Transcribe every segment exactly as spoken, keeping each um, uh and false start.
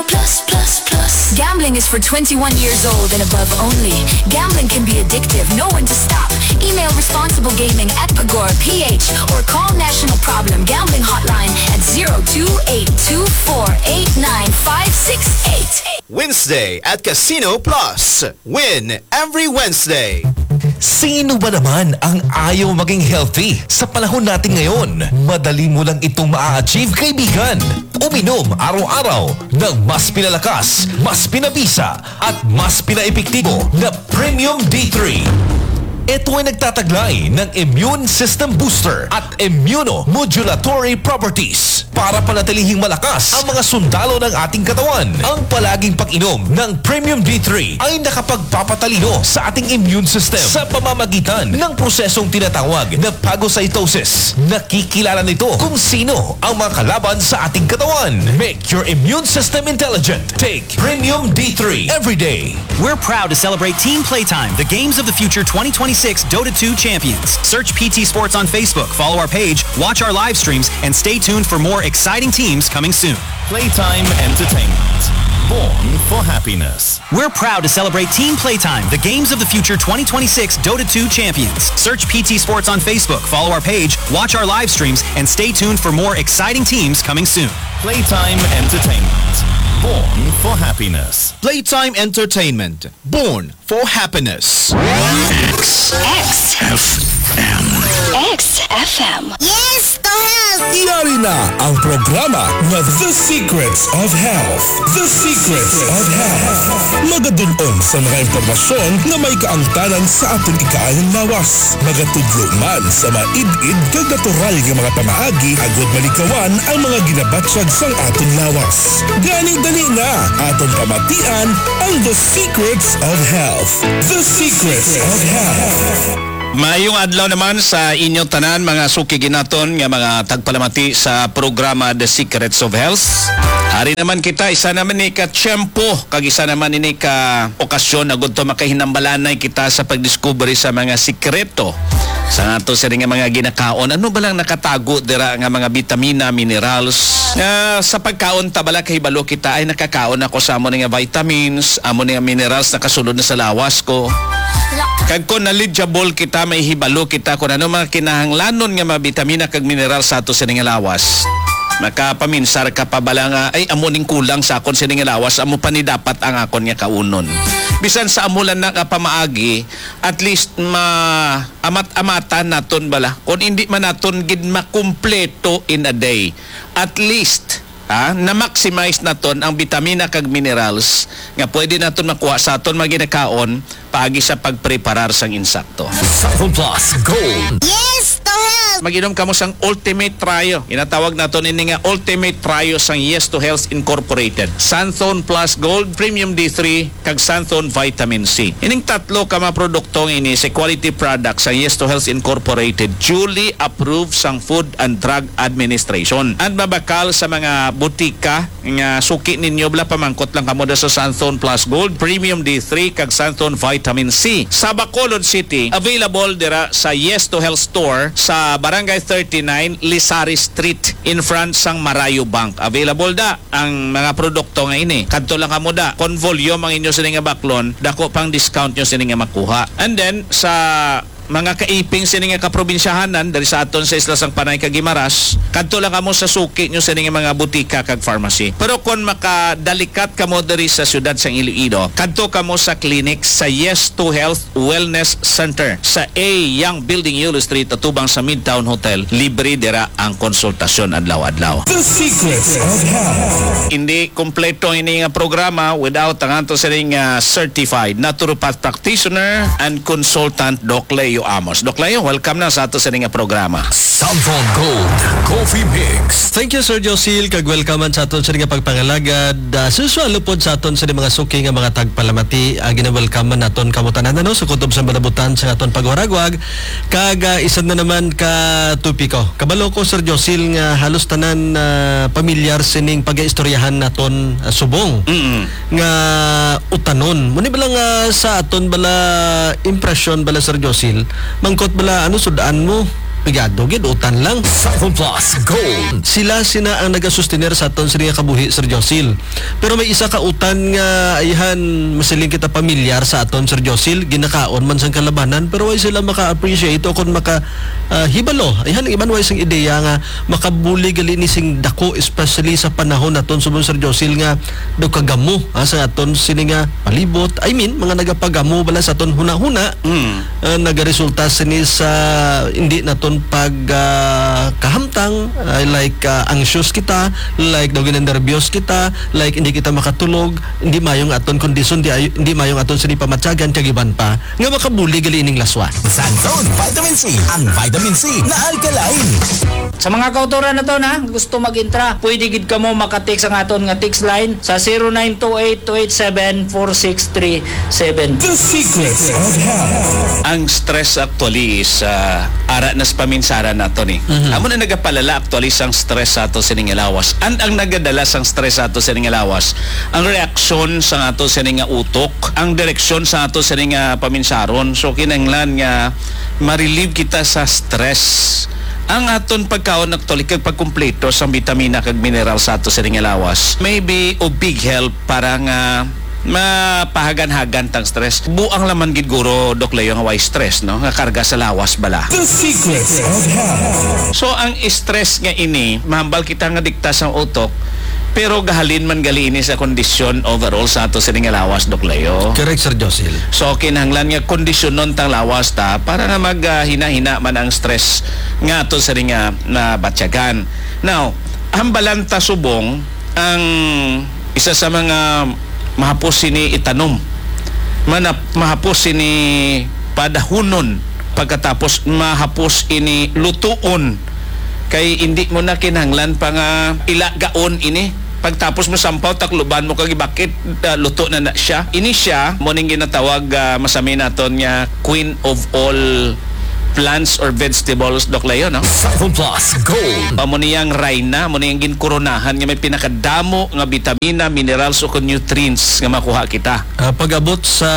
Plus, plus, plus. Gambling is for twenty-one years old and above only. Gambling can be addictive. Know when to stop. Email responsiblegaming at pagor P H or call National Problem Gambling Hotline at zero two eight two four eight nine five six eight. Wednesday at Casino Plus. Win every Wednesday. Sino ba naman ang ayaw maging healthy sa panahon natin ngayon? Madali mo lang itong maa-achieve, kaibigan. Uminom araw-araw ng mas pinalakas, mas pinabisa, at mas pinaepektibo na Premium D three. Ito ay nagtataglay ng immune system booster at immunomodulatory properties para panatilihing malakas ang mga sundalo ng ating katawan. Ang palaging pag-inom ng Premium D three ay nakapagpapatalino sa ating immune system sa pamamagitan ng prosesong tinatawag na phagocytosis. Nakikilala nito kung sino ang mga kalaban sa ating katawan. Make your immune system intelligent. Take Premium D three every day. We're proud to celebrate Team Playtime, the Games of the Future twenty twenty-six Dota two champions. Search P T Sports on Facebook, follow our page, watch our live streams, and stay tuned for more exciting teams coming soon. Playtime Entertainment. Born for happiness. We're proud to celebrate Team Playtime, the Games of the Future twenty twenty-six Dota two champions. Search P T Sports on Facebook, follow our page, watch our live streams, and stay tuned for more exciting teams coming soon. Playtime Entertainment. Born for happiness. Playtime Entertainment. Born for happiness. X. X F M. X F M. Yes to health! Yari na ang programa nga The Secrets of Health. The Secrets of Health. Magadun-on sa mga impormasyon nga may kaangtanan sa aton ikaayong lawas. Magatudlo man sa maid-id kag natural nga mga pamaagi agud maligawan ang mga ginabatyag sang aton lawas. Gani dali na, aton pamatian ang The Secrets of Health. The Secrets of Health. Maayong adlaw naman sa inyo tanan, mga suki ginaton nga mga tagpalamati sa programa The Secrets of Health. Ari naman kita, isa naman ni ka tiyempo, kag isa naman ini ka okasyon na gudto makahinambalanay kita sa pagdiskubre sa mga sikreto sa ato sini nga mga ginakaon. Ano ba lang nakatago dira nga mga bitamina, minerals, nga sa pagkaon ta bala kahibalo kita ay nakakaon ako sa amo ni nga vitamins, amo ni nga minerals nakasulod na sa lawas ko. Kag kung knowledgeable kita, may hibalo kita kung ano mga kinahanglanon nga mga bitamina kag mineral sa ato sini nga lawas. Makapaminsar ka pa bala nga, "Ay, amo ning kulang sa akon sini nga lawas, amo pa ni dapat ang akon nga kaunon." Bisan sa amo lang na nga pamaagi, at least ma-amat-amatan naton bala. Kung hindi man naton gid makumpleto in a day, at least, ha, na-maximize naton ang bitamina kag minerals nga pwede naton makuha sa aton mga ginakaon paagi sa pagpreparar sang insakto. Santon Plus Gold. Yes to health! Mag-inom kamo sang Ultimate Trio. Ginatawag naton ini nga Ultimate Trio sang Yes to Health Incorporated. Santon Plus Gold, Premium D three, kag Santon Vitamin C. Ining tatlo ka mga produkto nga ini sa quality product sa Yes to Health Incorporated, duly approved sang Food and Drug Administration. And mabakal sa mga butika nga suki ninyo, bala pamangkot lang kamo da sa Santon Plus Gold, Premium D three, kag Santon Vitamin C. Sa Bacolod City, available dira sa Yes to Health Store sa Barangay thirty-nine Lisari Street, in front sang Marayo Bank. Available da ang mga produkto nga ini. Kadto lang kamo da. Kon volume ang inyo sini nga baklon, dako pang discount nyo sini nga makuha. And then, sa mga kaiping sini nga kaprobinsyahanan diri sa aton sa Isla sang Panay kag Guimaras, kadto lang kamo sa suki nyo sini nga mga butika kag pharmacy. Pero kon makadalikat kamo diri sa siyudad sang Iloilo, kadto kamo sa clinic sa Yes to Health Wellness Center sa A Young Building, Yulo Street, atubang sa Midtown Hotel. Libre dira ang konsultasyon adlaw-adlaw. The Secrets of Health. Hindi kompleto ini nga programa without ang ato sining, ah, certified naturopath practitioner and consultant, Doc Leo Amos. Doc Leo, welcome na sa ato sining nga programa. Santon Gold Coffee Mix. Thank you, Sir Josil, kag welcome man sa aton sining nga pagpangalagad. Ah, sa usual, lupod sa aton sining mga suki nga mga tagpalamati, ah, gina-welcome man naton kamo tanan, ano, sa kutob sa malabutan sa aton pagwaragwag. Kag, ah, isa na naman ka topiko. Kabalo ko, Sir Josil, nga halos tanan, ah, pamilyar sining pag-istoryahan naton, ah, subong Mm-mm. nga utanon. Muni bala nga sa aton bala impresyon bala, Sir Josil, mangkot bala, ano, sud-an mo? Pigado gid, utan lang. Sapon Plus Gold. Sila sina ang nagasustener sa aton sini nga kabuhi, Sir Josil. Pero may isa ka utan nga, ayhan, masiling kita, pamilyar sa aton, Sir Josil, ginakaon man sang kalabanan, pero way sila maka-appreciate o kon maka, ah, hibalo. Ayhan, ang iban way sing ideya nga makabulig gali ni sing dako, especially sa panahon naton subong, Sir Josil, nga daw kagamo, ah, sa aton sini nga palibot. I mean, mga nagapagamo bala sa aton hunahuna, Mm. ah, nagaresulta sini sa hindi naton pag, ah, kahamtang, ah, like, ah, anxious kita, like daw ginanerbyos kita, like hindi kita makatulog, hindi mayo ang aton kondisyon, di ay-, hindi mayo ang aton sini pamatyagan, kag iban pa, nga makabulig gali ining laswa. Xanthone Vitamin C, ang vitamin C na alkaline. Sa mga kautoran naton, ha, gusto mag-intra, pwede gid kamo maka-text ang aton nga text line sa zero nine two eight two eight seven four six three seven. The Secrets of Health. Ang stress actually is, ah, ara na sa paminsaran nato ni. Mhm. Amo na nagapalala actually sang stress sa ato sining lawas. And ang nagadala sang stress sa ato sining lawas, ang reaksyon sa ato sining utok, ang direksyon sa ato sining, ah, paminsaron. So, kinahanglan nga ma-relieve kita sa stress. Ang aton pagkaon actually kag pagkumpleto sang bitamina kag mineral sa ato sining lawas may be of big help para nga mapahagan-hagan tang stress. Buang laman gid guro, Doc Leo, nga way stress, no? Nga karga sa lawas bala. The Secrets of Health. So, ang stress nga ini, mahambal kita nga dikta sang utok, pero gahalin man gali ini sa kondisyon overall sa ato sining lawas, Doc Leo. Correct, Sir Josil. So, kinahanglan nga kondisyonon tang lawas ta para nga mag, ah, hina-hina man ang stress nga ato sining, ah, nabatyagan. Now, hambalan ta subong ang isa sa mga mahapos sini itanom. Manap-, mahapos sini padahunon, pagkatapos mahapos ini lutuon. Kay indi mo na kinahanglan pa nga ilagaon ini. Pagtapos mo sampaw, takluban mo kag ibakit, ah, luto na na siya. Ini siya, mo ning ginatawag, ah, masami naton nga queen of all plants or vegetables, Doc Leo, no? Sapon Plus Gold. Amo niyang rayna, amo niyang ginkoronahan nga may pinakadamo nga bitamina, minerals, o kon nutrients nga makuha kita. Ah, pag-abot sa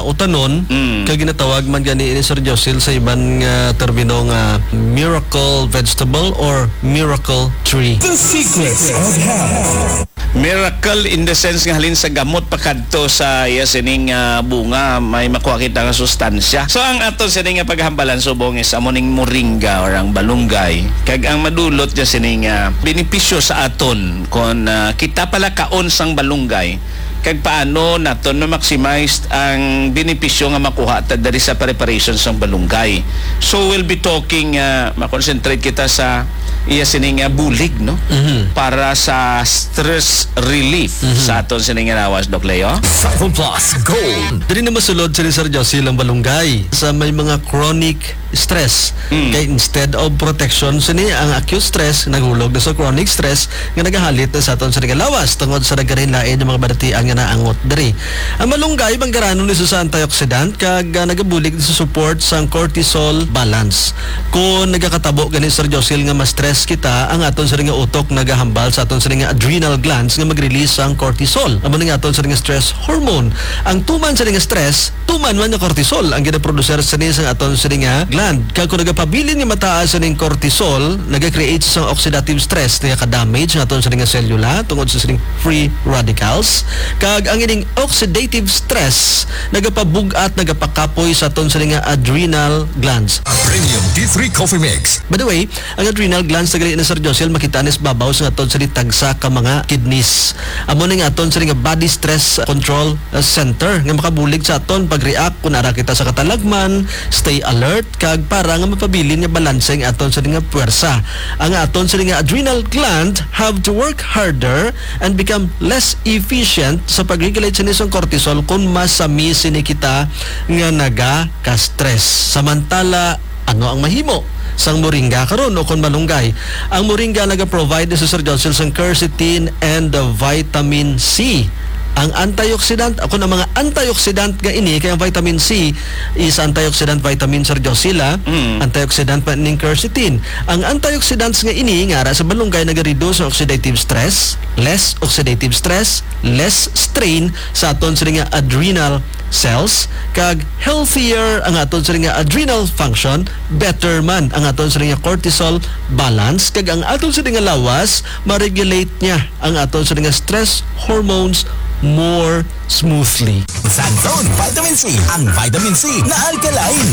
utanon, Mm. kag ginatawag man gani ini, Sir Josil, sa iban nga termino nga miracle vegetable or miracle tree. The Secrets of Health. Miracle in the sense nga halin sa gamot pakadto sa iya sining, ah, bunga, may makuha kita nga sustansya. So, ang aton sini nga paghambalan subong is amo ning moringa or ang balunggay. Kag ang madulot niya sini nga benepisyo sa aton kon, ah, kita pala kaon sang balunggay, kag paano naton ma-maximize ang benepisyo nga makuha ta diri sa preparation sang balunggay. So, we'll be talking, ah, ma-concentrate kita sa iya sini nga bulig, no? Mhm. Para sa stress relief Mhm. sa aton sini nga lawas, Doc Leo. Sapon Plus Gold. Diri na masulod sini, Sir Josil, ang balunggay sa may mga chronic stress. Mm. Kay instead of protection sini, ang acute stress naghulog na sa chronic stress nga nagahalit na sa aton sini nga lawas tungod sa nagkalain-lain nga mga balatian nga naangot diri. Ang malunggay, manggaranon ni sa antioxidant kag, ah, nagabulig sa support sang cortisol balance. Kung nagakatabo gani, Sir Josil, nga ma-stress kita, ang aton sini nga utok nagahambal sa aton sini nga adrenal glands nga mag-release sang cortisol. Amo ni nga aton sini nga stress hormone. Ang tuman sini nga stress, tuman man nga cortisol ang ginaproducer sini sa aton sini nga gland. Kag kung nagapabilin nga mataas sining cortisol, naga-create sang oxidative stress, nagaka-damage ang aton sini nga selula tungod sa sining free radicals. Kag ang ining oxidative stress nagapabug-at, nagapakapoy sa aton sini nga adrenal glands. Premium D three Coffee Mix. By the way, ang adrenal glands na gali na, Sir Josil, makita ni sa babaw sa aton sini tagsa ka mga kidneys. Amo ni nga aton sini nga body stress control, uh, center nga makabulig sa aton pag-react kung ara kita sa katalagman, stay alert, kag para nga mapabilin nga balanse ang aton sini nga puwersa. Ang aton sini nga adrenal gland have to work harder and become less efficient sa pag-regulate sini sang cortisol kung masami sini kita nga naga-stress. Samantala, ano ang mahimo sang moringa karon o kon malunggay? Ang moringa naga-provide ni Sir Josil sang quercetin and the vitamin C. Ang antioxidant, ako na mga antioxidant nga ini, kay ang vitamin C is antioxidant vitamin, Sir Josila. Mm. Antioxidant pa ning quercetin. Ang antioxidants nga ini, nga ara sa balunggay, nagareduce ang oxidative stress, less oxidative stress, less strain sa aton sini nga adrenal cells, kag healthier ang aton sini nga adrenal function, better man ang aton sini nga cortisol balance, kag ang aton sini nga lawas ma-regulate niya ang aton sini nga stress hormones more smoothly. Sa Zone Vitamin C, ang vitamin C na alkaline.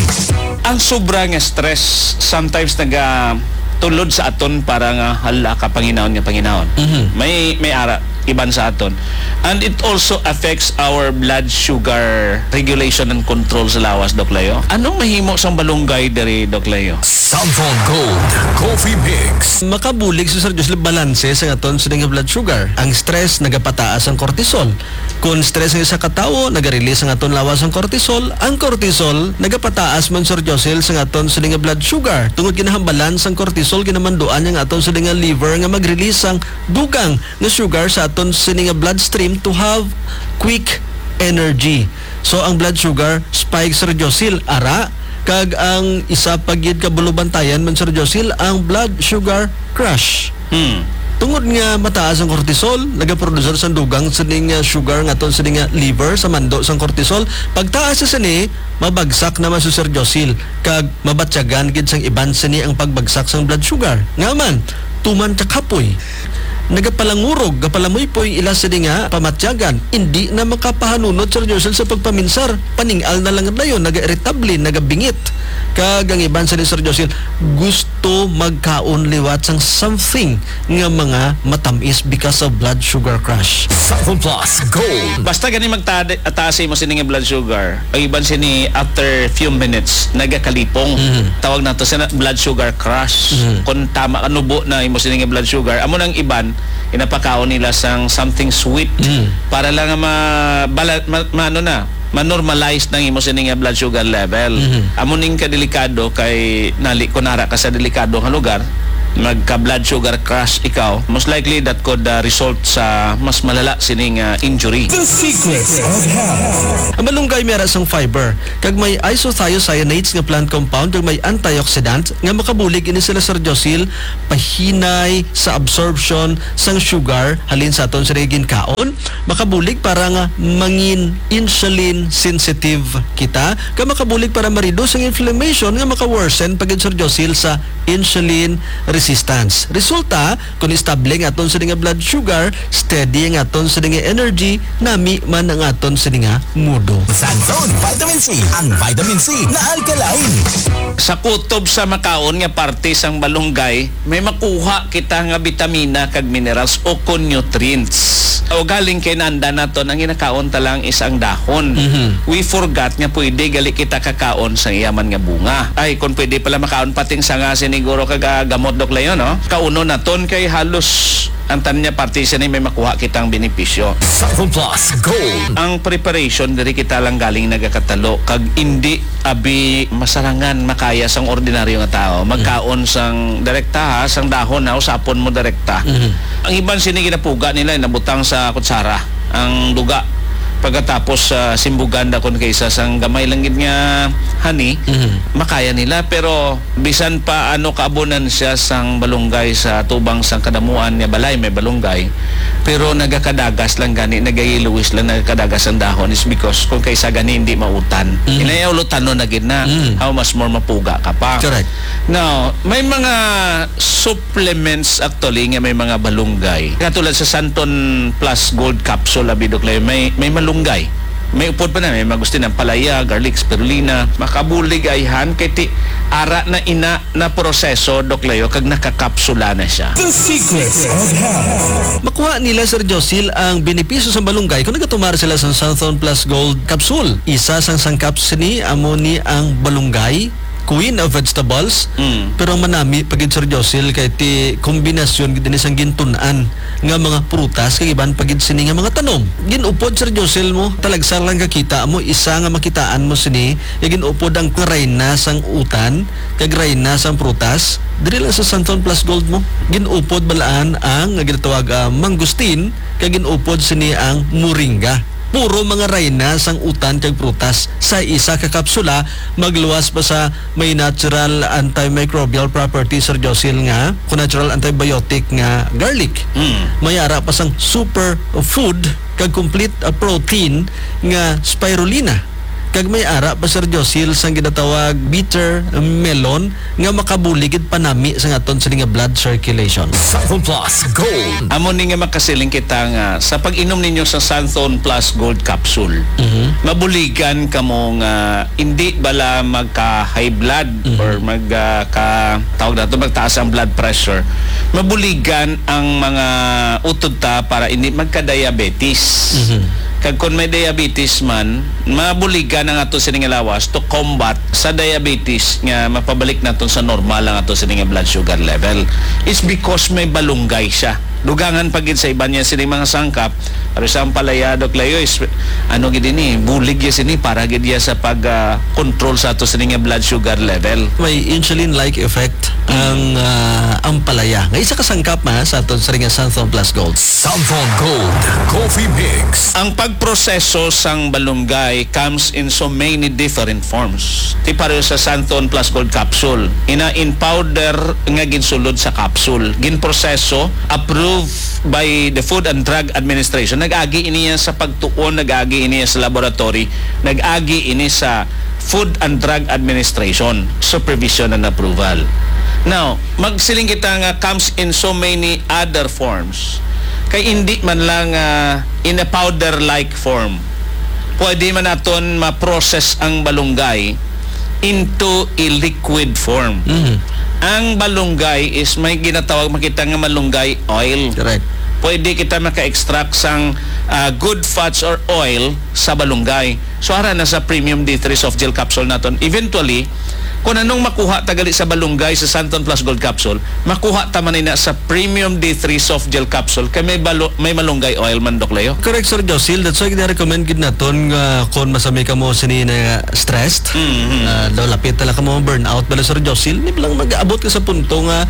Ang sobra nga stress sometimes nagatulod sa aton para nga hala ka panginahon nga panginahon. Mhm. May, may ara iban sa aton. And it also affects our blood sugar regulation and control sa lawas, Doc Leo. Anong mahimo sang balunggay diri, Doc Leo? Samsung Gold Coffee Mix. Makabulig sa, Sir Joseph, balanse sa aton sini nga blood sugar. Ang stress nagapataas ang cortisol. Kon stress ang isa ka tawo, naga-release ang aton lawas ang cortisol. Ang cortisol nagapataas man, Sir Josel, sa aton sini nga blood sugar. Tungod ginahambalan sang cortisol, ginamanduan niya ang aton sini nga liver nga mag-release sang dugang nga sugar sa aton sini nga bloodstream to have quick energy. So, ang blood sugar spike, Sir Josil, ara, kag ang isa pa gid ka bulubantayan man, Sir Josil, ang blood sugar crash. Hmm. Tungod nga mataas ang cortisol, nagaproducer sang dugang sining, ah, sugar nga aton sini nga liver sa mando sang cortisol. Pagtaas sa sini, mabagsak naman si Sir Josil, kag mabatyagan gid sang iban sini ang pagbagsak sang blood sugar. Nga man, tuman ka kapoy. Nagapalangurog, gapalamuypoy ila sini nga pamatyagan. Indi na makapahanunot, Sir Josil, sa pagpaminsar. Paning-al na lang dayon, naga-iritable, nagabingit. Kag ang iban sini, Sir Josil, gusto magkaon liwat sang something nga mga matamis because of blood sugar crash. Sample Plus Gold. Basta gani magtaas imo sini nga blood sugar, ang iban sini after few minutes nagakalipong. Mhm. Tawag nato sina blood sugar crash. Mhm. Kung tama ka, nubo na imo sini nga blood sugar, amo nang iban, inapakaon nila sang something sweet. Mhm. Para lang nga ma-, bala-, ma-, ma-, ano na, ma-normalize nang imo sini nga blood sugar level. Mhm. Amo ning kadelikado kay nali ko nara ka sa delikado nga lugar, magka blood sugar crash ikaw, most likely that could, uh, result sa mas malala sining, uh, injury. The Secrets of Health. Ang malunggay may ara sang fiber, kag may isothiocyanates nga plant compound, kag may antioxidant nga makabulig ini sila, Sir Josil, pahinay sa absorption sang sugar halin sa aton sini nga ginkaon. Makabulig para nga mangin insulin sensitive kita, kag makabulig para ma-reduce ang inflammation nga maka-worsen pa gid, Sir Josil, sa insulin resistance. Resulta, kung estable ang aton sini nga blood sugar, steady ang aton sini nga energy, nami man ang aton sini nga mudo. Sa Zone Vitamin C, ang vitamin C na alkaline. Sa kutob sa makaon nga parte sang balunggay, may makuha kita nga bitamina kag minerals o kon nutrients. O galing kay nanda naton ang ginakaon ta lang is ang dahon. Mhm. We forgot nga pwede gali kita kakaon sang iya man nga bunga. Ay, kung pwede pala makaon pating sanga siniguro kag, ah, gamot, Doc Leo, no? Kaunon naton kay halos ang tanan nga parte sini may makuha kitang benepisyo. Sample Plus Gold. Ang preparation diri kita lang galing nagakatalo kag indi abi masarangan makaya sang ordinaryo nga tawo. Magkaon sang direkta, ha, sang dahon, ha, usapon mo direkta. Mhm. Ang iban sini ginapuga nila, nabutang sa kutsara ang duga. Pagkatapos, ah, simbugan dakon kaysa sang gamay lang gid nga honey, Mhm. makaya nila. Pero bisan pa ano kaabunan siya sang balunggay sa tubang sang kadamuan nga balay may balunggay, pero nagakadagas lang gani, nagayellowish lang, nagakadagas ang dahon is because kung kaysa gani hindi mautan. Mm. Inayaw lutanon na gid na. Mm. How much more mapuga ka pa? Correct. Now, may mga supplements actually nga may mga balunggay. Katulad sa Santon Plus Gold Capsule, abi, Doc Leo, may, may malunggay. May upod pa na, may mangustin, ampalaya, garlic, spirulina. Makabulig ayhan kay ti ara na ina na proseso, Doc Leo, kag nakakapsula na siya. The Secrets of Health. Makuha nila, Sir Josil, ang benepisyo sa balunggay kung nagatumar sila sa Santon Plus Gold Capsule. Isa sang sangkap sini amo ni ang balunggay, queen of vegetables. Mm. Pero ang manami pa gid, Sir Josil, kay ti kombinasyon gid ini sang gintun-an nga mga prutas kag iban pa gid sini nga mga tanom. Gin-upod, Sir Josil, mo, talagsa lang kakita mo, isa nga makitaan mo sini, nga gin-upod ang rayna sang utan kag rayna sang prutas. Diri lang sa Santon Plus Gold mo, gin-upod balaan ang nga ginatawag, ah, mangosteen, kag gin-upod sini ang moringa. Puro mga rayna sang utan kag prutas sa isa ka kapsula, magluwas pa sa may natural antimicrobial property, Sir Josil, nga kung natural antibiotic nga garlic. Mm. May ara pa sang super food kag complete, uh, protein nga spirulina. Kag may ara pa, Sir Josil, sang ginatawag bitter melon nga makabulig gid panami sa aton sini nga blood circulation. Santon Plus Gold. Amo ni nga makasiling kita nga sa pag-inom ninyo sa Santon Plus Gold Capsule, Mhm. mabuligan kamo nga hindi bala magka-high blood Mhm. or mag, ah, ka, tawag nato, magtaas ang blood pressure. Mabuligan ang mga utod ta para hindi magka-diabetes. Mhm. Kag kung may diabetes man, mabuligan ang ato sini nga lawas to combat sa diabetes nga mapabalik naton sa normal ang ato sini nga blood sugar level. It's because may balunggay siya. Dugangan pa gid sa iban niya sini mga sangkap, pero sa ampalaya, Doc Leo, is, ano gid ini, bulig ya sini para gid ya sa pag, ah, control sa ato sini nga blood sugar level. May insulin-like effect ang, ah, ampalaya. Nga isa ka sangkap ma sa aton sini nga Santhon Plus Gold. Santhon Gold Coffee Mix. Ang pagproseso sang balunggay comes in so many different forms. Ti pareho sa Santhon Plus Gold Capsule, ina in powder nga ginsulod sa capsule, ginproseso, approved by the Food and Drug Administration. Nag-agi ini sa pagtuon, nag-agi ini sa laboratory, nag-agi ini sa Food and Drug Administration supervision and approval. Now, magsiling kita nga comes in so many other forms. Kay hindi man lang, ah, in a powder-like form. Pwede man naton ma-process ang balunggay into a liquid form. Mhm. Ang balunggay is may ginatawag, makita nga malunggay oil. Correct. Pwede kita maka-extract sang, ah, good fats or oil sa balunggay. So, ara na sa premium D three soft gel capsule naton. Eventually, kung anong makuha ta gali sa balunggay sa Santon Plus Gold Capsule, makuha ta man ina sa premium D three soft gel capsule kay may balo-, may malunggay oil man, Doc Leo. Correct, Sir Josil. That's why gina-recommend gid naton nga kung masami kamo sini na stressed, Mhm. ah, daw lapit na lang kamo burnout bala, Sir Josil. Di ba lang mag-abot ka sa punto nga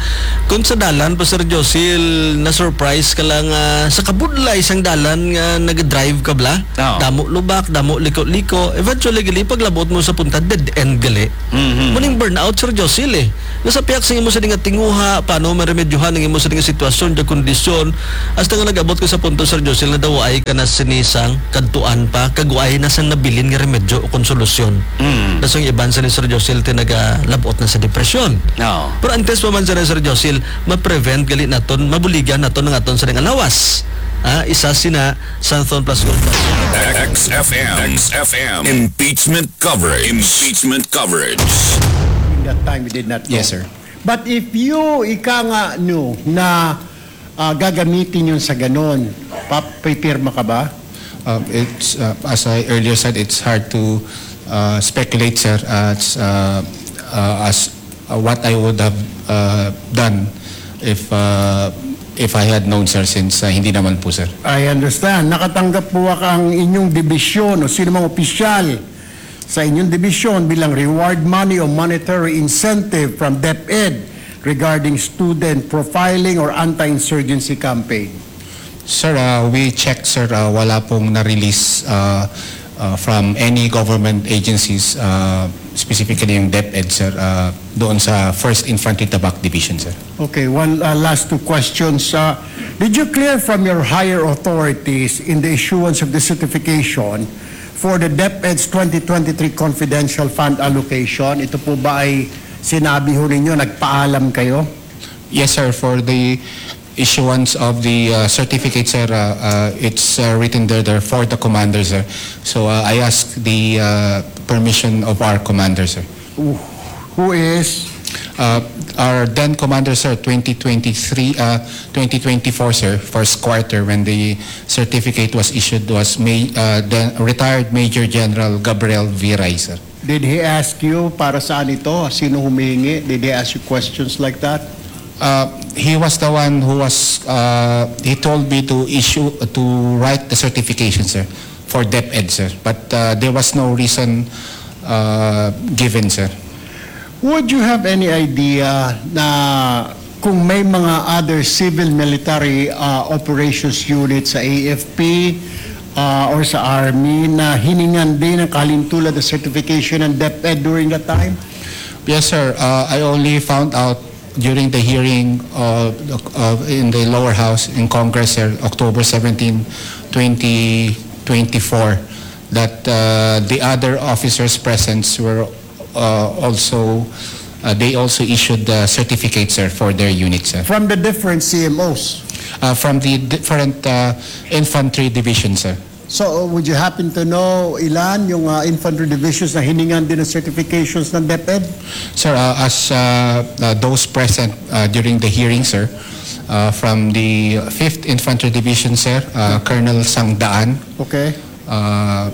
kung sa dalan pa, Sir Josil, na-surprise ka lang, ah, sa kabudlay sang dalan nga nag-drive ka bala. Oo. Damo lubak, damo liko-liko. Eventually, gali, paglabot mo sa punta, dead end gali. Mhm. Muning burnout, Sir Josil, eh. Nga sa piyak sa imo sini nga tinguha, paano maremedyohan ang imo sini nga sitwasyon, nga kondisyon, hasta nga nag-abot ka sa punto, Sir Josil, nga daw ay ka na sini sang kadtuan pa, kag ay na sang nabilin nga remedyo o konsolusyon. Mm. Dasang iban sini, Sir Josil, ti nagalabot na sa depresyon. Oo. Pero antes pa man sini, Sir Josil, ma-prevent gali naton, mabuligan naton ang aton sini nga lawas. Ah, isa sina Santhon Plus Gold. X F M. X F M. Impeachment coverage. Impeachment coverage. During that time, we did not know. Yes, sir. But if you, ika nga, no, na, ah, gagamitin yun sa ganon, pa-, pipirma ka ba? Uh, it's, uh, as I earlier said, it's hard to, uh, speculate, sir, as, uh, uh, as, uh, what I would have, uh, done if, uh, if I had known, sir, since, uh, hindi naman po, sir. I understand. Nakatanggap po ba ang inyong dibisyon o sino mang opisyal sa inyong dibisyon bilang reward money o monetary incentive from DepEd regarding student profiling or anti-insurgency campaign? Sir, uh, we checked, sir, uh, wala pong na-release, uh, uh, from any government agencies, uh, specifically yung DepEd, sir, uh, doon sa First Infantry Tabak Division, sir. Okay, one, uh, last two questions. Uh, did you clear from your higher authorities in the issuance of the certification for the DepEd's twenty twenty-three confidential fund allocation? Ito po ba ay sinabi ho ninyo, nagpaalam kayo? Yes, sir. For the issuance of the, uh, certificate, sir, uh, uh, it's, uh, written there, there for the commander, sir. So, uh, I ask the, uh, permission of our commander, sir. Who, who is? Uh, our then commander, sir, twenty twenty-three, uh, twenty twenty-four, sir, first quarter when the certificate was issued was May, uh, then retired Major General Gabriel Viray, sir. Did he ask you para saan ito? Sino humihingi? Did he ask you questions like that? Uh, he was the one who was, uh, he told me to issue, to write the certification, sir, for DepEd, sir. But uh, there was no reason uh, given, sir. Would you have any idea na kung may mga other civil military uh, operations unit sa A F P uh, or sa Army na hiningan din ang kahalintulad ng certification ng DepEd during that time? Yes, sir. Uh, I only found out during the hearing uh, uh, in the lower house in Congress, sir, October seventeen, twenty twenty-four, that uh, the other officers present were uh, also, uh, they also issued the certificates, sir, for their units, sir. From the different C M Os? Uh, from the different uh, infantry division, sir. So, would you happen to know ilan yung uh, infantry divisions na hiningan din ng certifications ng DepEd? Sir, uh, as uh, uh, those present uh, during the hearing, sir, uh, from the fifth Infantry Division, sir, uh, Colonel Sangdaan. Okay. Uh,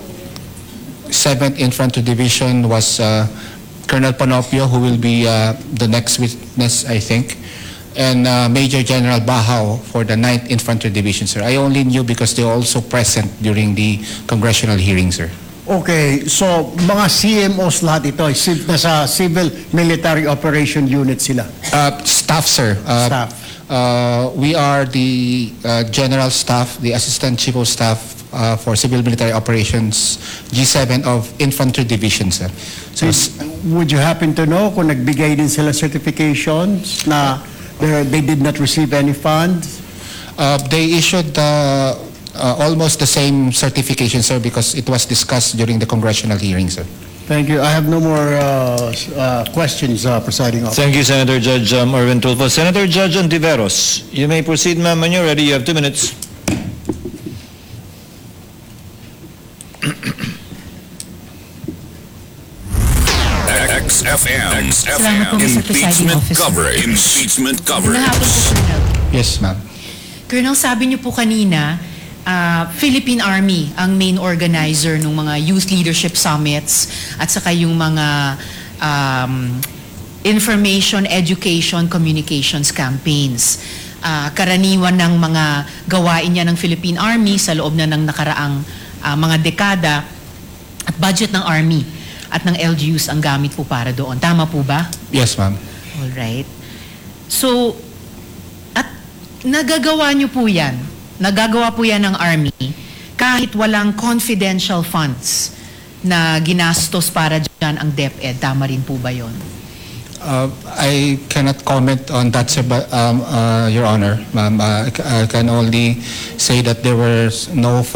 seventh Infantry Division was uh, Colonel Panopio, who will be uh, the next witness, I think, and uh, Major General Bahao for the ninth Infantry Division, sir. I only knew because they were also present during the congressional hearing, sir. Okay, so mga C M Os lahat ito, civ- nasa Civil Military Operation Unit sila. Uh, staff, sir. Uh, Staff. Uh, we are the uh, General Staff, the Assistant Chief of Staff uh, for Civil Military Operations, G seven of Infantry Division, sir. So, Did, s- would you happen to know kung nagbigay din sila certifications na they, they did not receive any funds? uh, they issued uh, uh, almost the same certification, sir, because it was discussed during the congressional hearing, sir. Thank you. I have no more uh, s- uh, questions, uh, Presiding Officer. Thank you, Senator Judge um, Erwin Tulfo. Senator Judge Ontiveros, you may proceed, ma'am, when you're ready. You have two minutes. X F M. Salamat po, Mister Presiding Impeachment Officer. Coverage. Impeachment Magandang hapon po, Coverage. Colonel. Yes, ma'am. Colonel, sabi niyo po kanina, ah, Philippine Army ang main organizer ng mga youth leadership summits at saka yung mga um, information, education, communications campaigns. Ah, karaniwan ng mga gawain niya ng Philippine Army sa loob na ng nakaraang ah, mga dekada at budget ng Army at ng L G Us ang gamit po para doon. Tama po ba? Yes, ma'am. All right. So, at nagagawa niyo po yan. Nagagawa po yan ng Army kahit walang confidential funds na ginastos para dyan ang DepEd. Tama rin po ba yon? Uh, I cannot comment on that, sir, but, um, uh, Your Honor. Ma'am, uh, I c- I can only say that there were s- no funds